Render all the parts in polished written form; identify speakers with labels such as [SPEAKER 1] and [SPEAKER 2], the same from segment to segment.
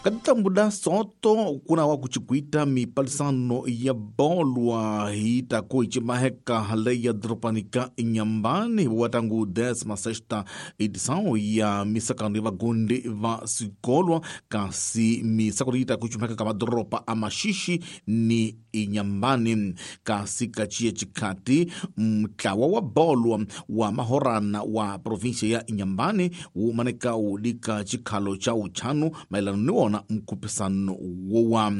[SPEAKER 1] Ka soto kuna wa kuchikwita mipalisano ya bolwa hitako ichimaheka hale ya dropanika Inhambane watangu 16ª edição ya misakano ya vagundi va sikolwa kasi misakano itako ichimaheka ka madoropa a Maxixe ni Inhambane kasi kachia chikati mtlawa wa bolwa wa mahorana wa província ya Inhambane wumaneka ulika chikhalo cha uchanu maelano ni wona mkupisano wowa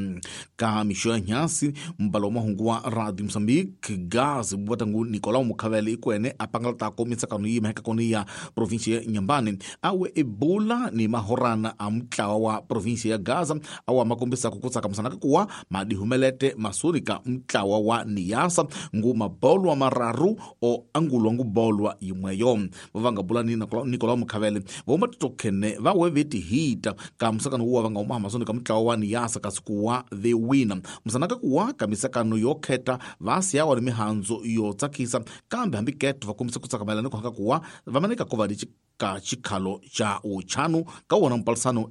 [SPEAKER 1] ka mixo ya nyasi mbalo mahungu wa Radio Mozambique gas watangu Nicolau Mukhavele ikwene apangalatako mitsakano yi maheka koni ya província ya Inhambane awe ebola ni mahorana a mutlawa wa província ya Gaza awa makombisako kutsakamisana kuwa madihumelete masuri ka mutlawa wa Niassa ngu mabolwa mararu o angulwa ngu bolwa yimweyo vavanga bulani Nicolau Mukhavele voma titokhene vawe veti hita ka musakano wuwa vanga uma masoni ka mutlawa wa Niassa kasi kuwa the winner musanaka kuwa ka misakano yo kheta vasiyawa ni mihandzo yo tsakisa kambe hambi keto vakombisa kutsakamelana ni kuhaka kuwa vamaneka ko va ka chikhalo cha uchanu ka wona mpalisano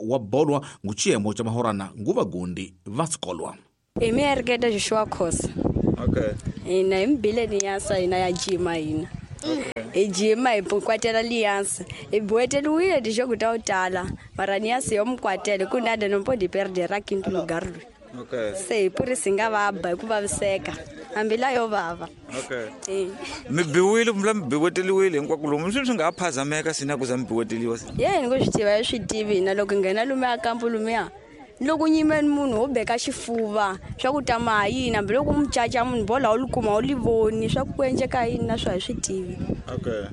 [SPEAKER 1] wa bolwa ngu chiyemo cha mahorana ngu vagundi va sikolwa.
[SPEAKER 2] Imi ereketa Joshua Khosa.
[SPEAKER 3] Okay.
[SPEAKER 2] Ina imbile Niassa ina ya jima ina. Okay. Ejima ikwatela Liansa. Ibueteliwile ndisho kutawutala. Mara Niassa yomkwatele kunade nompo perdera quinto lugar.
[SPEAKER 3] Okay.
[SPEAKER 2] Se puri singavaba ikuvaviseka. Hambila yo vava.
[SPEAKER 3] Okay. Mibiwile mla mibiweteliwile hinkwako lomu swi nga phazameka sina ku za mibiweteliwa.
[SPEAKER 2] Yena ngo swi tiva swi tivi na loko nghena lume a kampu lumiya. Loko nyimeni munhu wo beka xifuva swa ku ta ma yini hambi loko mucaca munhu bola wu likuma wu li voni swa ku endleka yini na swa hi swi tivi.
[SPEAKER 3] Okay.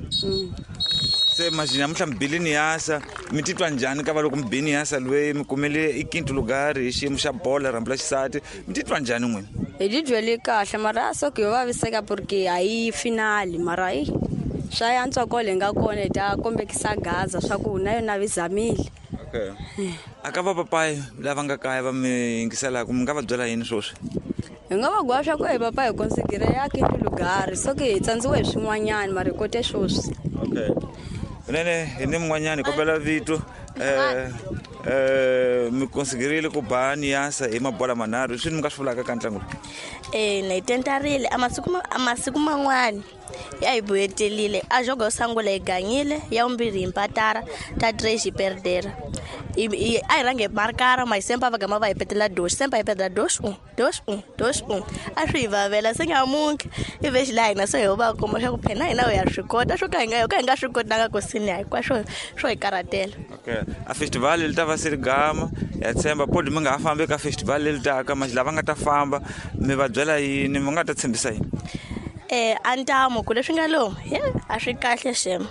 [SPEAKER 3] Se imagina namuntlha mi bile Niassa mi titwa njhani ka va loko mi bi Niassa loyi mi kumele i quinto lugar hi xiyimo xa bola rhambu la xisati mi titwa njhani n'wina?
[SPEAKER 2] Hi titwele kahle mara so ku yo vaviseka porque a yi finali mara yi swa yantswa kole nga kona hi ta kombekisa Gaza swa ku na yona vi zamile.
[SPEAKER 3] Okay. Aka va papai lava nga kaya va mi yingiselaka mi nga va byela yini sweswi?
[SPEAKER 2] Hi nga va gwa swa ku hi papa hi konsigire ya quinto lugar so ke hi tsandziwe hi swin'wanyana mara hi kote sweswi.
[SPEAKER 3] Okay. Nene hi ni mun'wanyana hi kombela vito mi konsigirile ku ba Niassa hi mabola manharhu swi ni mi nga swi vulaka ka ntlangu lowu?
[SPEAKER 4] Na hi tentarile a masiku man'wani ya hi buyetelile a jogo yo sungula hi ganyile ya vumbirhi hi mpatara ta 3 hi perdera a hi rhange hi markara ma hi sempa va gama va hi petela 2 sempa hi petela 2 1 2 1 2 1 a swi hi vavela se nyamuntlha i vexi laha hina se hi va kuma swa ku phena hina hi ya swi kota swo ka hi nga ka hi nga swi kotanga ku sini hinkwaswo swo hi karhatela.
[SPEAKER 3] Okay. A festival li ta va se ri gama ya tshemba podi mi nga ha fambi ka festival leri taka manje lava nga ta famba mi va byela yini mi nga ta tshembisa yini?
[SPEAKER 4] A ntamu ku leswi nga lomu a swi kahle xem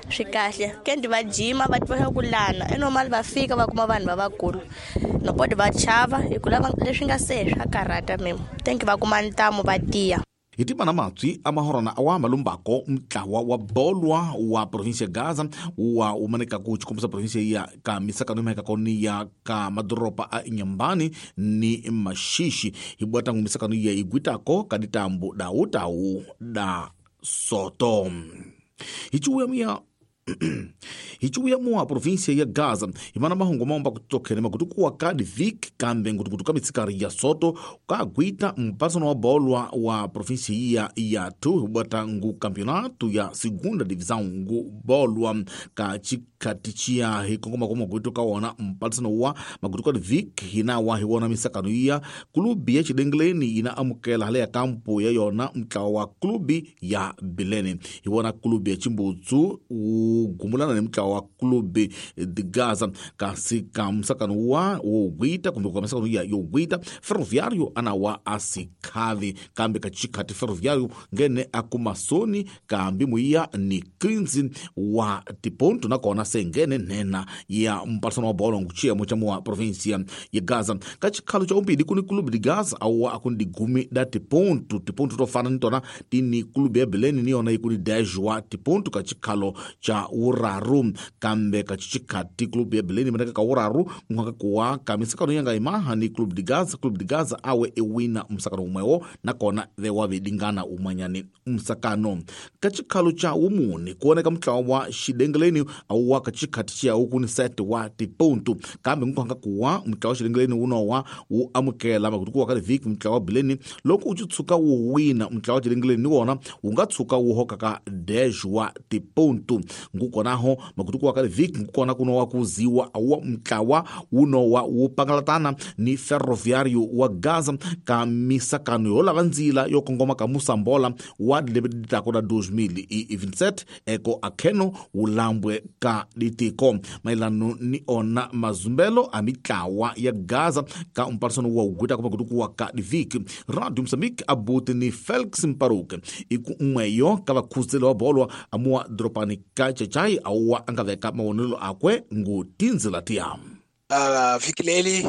[SPEAKER 4] swi kahle kendi va jima va tiva ku lana i normal va fika va kuma vanhu va vakulu nopodi va chava hi ku lava leswi nga se swa karhata mimo thank va kuma ntamu va tiya.
[SPEAKER 1] Hi timana matswi a mahorana awa malumbako mutlawa wa bolwa wa província ya Gaza wa umaneka ku chikombisa província ya ka misakano imaheka koni ya ka madoropa a Inhambane ni Maxixe hi bwatangu misakano ya igwitako ka ditambo da utau da soto. Hichuya mua província ya Gaza imana mahungu maomba kutokhene makutukuwa ka divik kambe ngutukutuka mitsikari ya soto ka gwita mpasano wa bolwa wa província ya tu bwata ngu campeonato ya segunda divisão ngu bolwa ka chikatichia hikongoma kwa magutu ka wona mpasano wa magutuka divik hina wa hiwona misakano ya klubi ya Chidengleni ina amukela hale ya kampo ya yona mtlawa wa klubi ya Bilene hiwona klubi ya Chimbutsu gumulana ni mtlawa wa klubi de Gaza kasi ka msakano wa wogwita kumbe kwa msakano ya yogwita Ferroviário anawa asikhavi kambe kachikati Ferroviário ngene akumasoni kambi muya ni 15 wa tiponto nakona sengene nena ya mpasano wa bolo nguchia mochamu wa província ya Gaza kachikhalo cha umbili kuni klubi de Gaza awa akundi gumi da tiponto tiponto tofana nitona tini klubi ya Beleni niyona ikuni 10 wa tiponto kachikhalo cha uraru kambe kachichikati klubu ya Beleni maneka ka uraru mwaka kuwa ka misakano yanga imaha ni Clube de Gaza. Clube de Gaza awe ewina msakano umwewo nakona vewa vedingana umanyani msakano kachikhalo cha umuni kuoneka mtlawa wa Xidengeleni awa wa ka chikhati chiyawu kuni 7 wa tipontu kambe nkuhanga kuwa mutlawa xilengeleni wunowa wu amukela makutuku wa ka vhiki mutlawa wa Bileni loko u tshuka wu wina mutlawa xilengeleni ni wona wu nga tshuka wu hoka ka 10 wa tipontu ngukonaho makutuku wa ka vhiki ngukona kunowa kuziwa wa mutlawa wunowa wu pangalatana ni Ferroviário wa Gaza ka misakano yo lava ndzila yo kongoma ka Mosambola wa dilebeditako na 2027 eko akheno wulambwe ka litiko mailano ni ona mazumbelo a mitlawa ya Gaza ka mparisano wa ugwita kwa makutuku wa ka diviki Radio Mozambique abuti ni Felix Mparuke iku n'weyo ka vakhuzeli wa bolo amuwa doropani ka Chachai awa angaveka mawonelo akwe ngu tindzila tiya
[SPEAKER 5] vhiki leri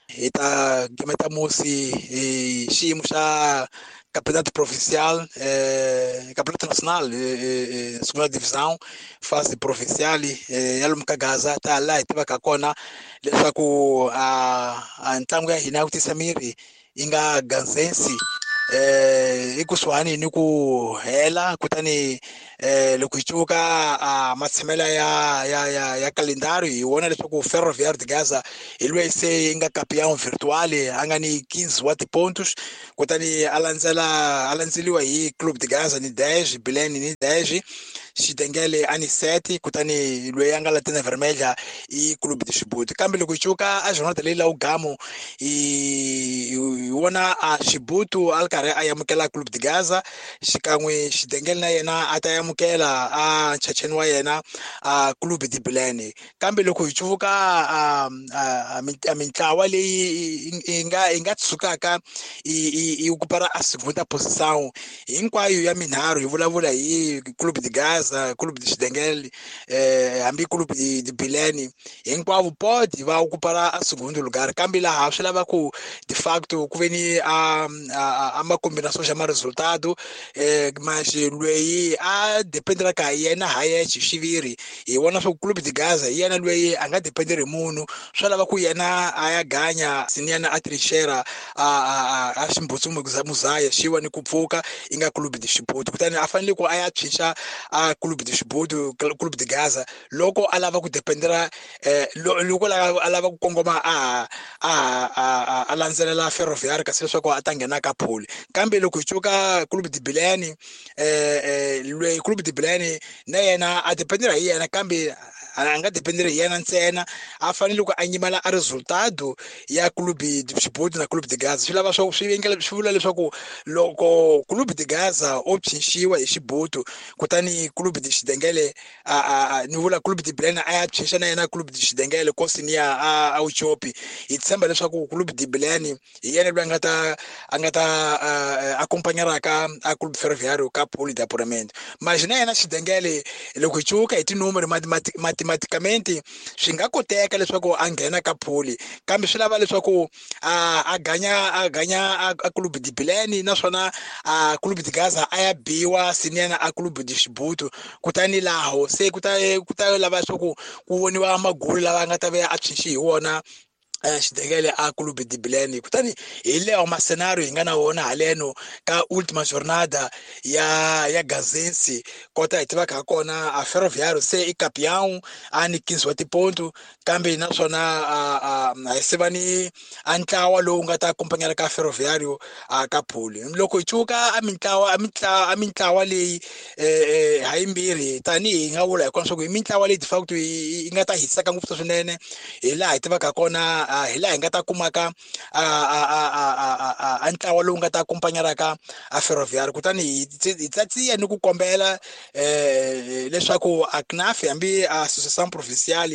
[SPEAKER 5] hi ta gimeta musi hi xiyimo xa Campeonato Provincial, Campeonato Nacional, segunda divisão, fase provincial, ya lomu ka Gaza ta laha hi tivaka kona leswaku a ntlangu ya hina ya ku tisa miri yi nga ganzensi ekusuhani ni ku hela kutani loko hi cuka matshamela ya kalendari hi vona leswaku Ferroviário de Gaza hi lweyi se yi nga campeão virtual a nga ni 15 wa tipontos kutani a landzeliwa hi Clube de Gaza ni 10 Bilene ni 10 Xidengele a ni 7 kutani lweyi a nga Lanterna Vermelha i Clube de Chibuto kambe loko hi cuka a jornada leyi la ugamo hi vona a Chibuto a ri karhi a amukela Clube de Gaza xikan'we Xidengele na yena a ta amukela a nchacheni wa yena a Clube de Bilene kambe loko hi cuvuka a mintlawa leyi yi nga tshukaka yi okupara a segunda posição hinkwayo ya minharhu hi vulavula hi Clube de Gaza Clube de Xidengele hambi Clube de Bilene hinkwavo pode va okupara a segundo lugar kambe laha swi lava ku de facto ku ve ni a ma combinação xa ma resultado mas lweyi a dependeraka hi yena ha yexe xiviri hi vona swa ku Clube de Gaza hi yena lweyi a nga dependeri hi munhu swa lava ku yena a ya ganya siniyana a trinchera a ximbutsu muzaya xiwa ni ku pfuka yi nga Clube de Chibuto kutani a fanele ku a ya tshwinxa a Clube de Chibuto Clube de Gaza loko a lava ku dependera loko a lava ku kongoma a landzelela Ferroviário kasi leswaku a ta nghena ka pole kambe loko hi cuka Clube de Bilene lweyi Clube de Bilene na yena a dependera hi yena kambe a nga dependeri hi yena ntsena a fanele ku a nyimela a resultado ya Clube de Chibuto na Clube de Gaza swi lava swa swi vula leswaku loko Clube de Gaza o phinxiwa hi Chibuto kutani Clube de Xidengele ni vula Clube de Bilene a ya phinxa na yena Clube de Xidengele kosini ya a Uchopi hi tshemba leswaku Clube de Bilene hi yena loyi a nga ta acompanharaka a Clube Ferroviário ka pole de apuramento mas na yena Xidengele loko hi cuka hi tinumero matematicamente swi nga koteka leswaku a nghena ka pole kambe swi lava leswaku a ganya a Clube de Bilene naswona a Clube de Gaza a ya biwa sinena a Clube de Chibuto kutani laho se ku ta lava leswaku ku voniwa magulu lava nga ta ve a tshwinxi hi wona Xidengele a Clube de Bilene kutani hi leyo masenario hi nga na wona haleno ka última jornada ya Gazensi kota hi tivaka ha kona a Ferroviário se i campeão a ni 15 wa tiponto kambe naswona a hi se va ni a ntlawa lowu nga ta acompanhar ka Ferroviário a ka pole loko hi cuka a mintlawa leyi ha yimbirhi tanihi hi nga vula hi kona swa ku hi mintlawa leyi de facto yi nga ta hiseka ngopfu swinene hi laha hi tivaka kona hi laha hi nga ta kumaka a ntlawa lowu nga ta acompanharaka a Ferroviário kutani hi tsatsiya ni ku kombela leswaku a CNAF hambi a Associação Provincial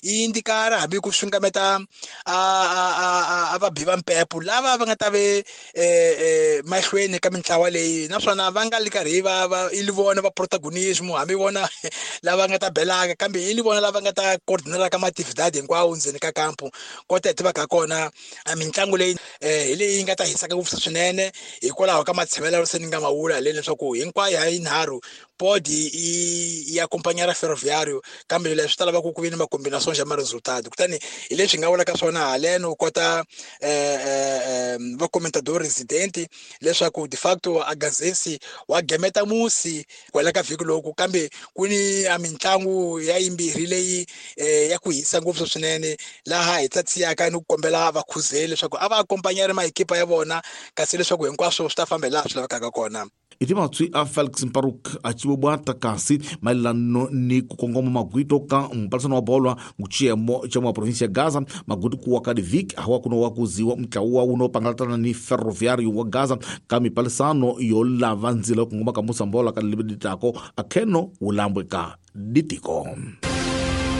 [SPEAKER 5] yi indikara hambi ku xungameta a vabi va mpepo lava va nga ta ve mahlweni ka mintlawa leyi naswona va nga li karhi va i li vona va protagonismo hambi vona lava nga ta belaka kambe i li vona lava nga ta coordinaraka maatividade hinkwawo ndzeni ka kampo kota hi tivaka kona mitlangu leyi hi leyi yi nga ta hisaka ngopfu swinene hikwalaho ka matshemelo se ni nga mavula haleni leswaku hinkwayo ha yinharhu pode i acompanhar a Ferroviário, kambe leswi ta lava ku ku vi ni macombinations ya ma-resultado. Kutani hi leswi hi nga vulaka swona haleno kota va comentador residente leswaku de facto a Gazensi wa gemeta musi kwala ka vhiki loku, kambe ku ni a mitlangu ya yimbirhi leyi ya ku hisa ngopfu swinene, laha hi tsatsiyaka ni ku kombela vakhuzeli leswaku a va akompanyari maekipa ya vona, kasi leswaku hinkwaswo swi ta famba hi laha swi lavekaka kona.
[SPEAKER 1] Iti matswi a Felix Mparuk a civobwata kasi maelano ni ku kongoma magwito ka mpalisano wa bolwa nguchiyemo cha mwa provinsia ya Gaza maguti kuwa ka diviki hawa kuno wa kuziwa mtlawa uno pangalatana ni Ferroviário wa Gaza ka mipalisano yo lava ndzila yo kongoma ka musambola ka libeditako akheno wulambwe ka ditiko.